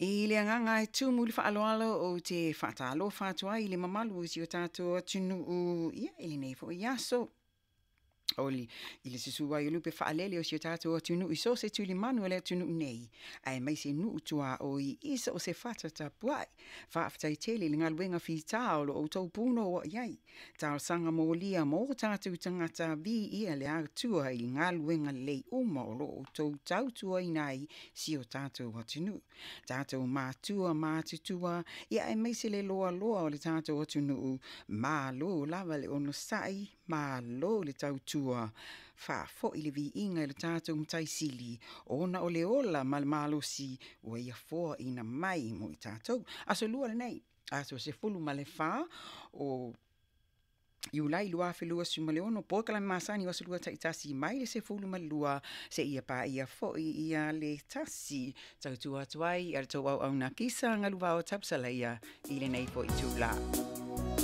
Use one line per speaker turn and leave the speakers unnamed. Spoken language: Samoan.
I le agaga e tumu i le faaaloalo ou te faatalofa atu ai i le mamalu o si o tatou atunuu ia i lenei foi aso. O le, i le susu ai o lupe faalele o si o tatou atunuu i so o se tulimanu o le atunuu nei, aemaise nuu tuaoi i so o se fata tapuai. Faafetai tele i le galuega fita o lo outou punouai ai. Talosaga molia mo o tatou tagata, viia le Atua i galuega lelei uma o lo o outou tautuaina ai si o tatou atunuu. Tatou matua matutua, ia aemaise le loaloa o le tatou atunuu, malo lava le onosai, malo le tautua. Faafoi le viiga i le tatou Matai Sili, ona o le ola ma le malosi ua ia foaina mai mo i tatou. Aso Lua lenei, aso 14 o Iulai 2026, polokalame masani o Aso Lua taitasi mai le 12 seia paia foi ia le 1. Tautua atu ai a le tou auauna Kisa Galuvao Tapusalaia i lenei foi itula.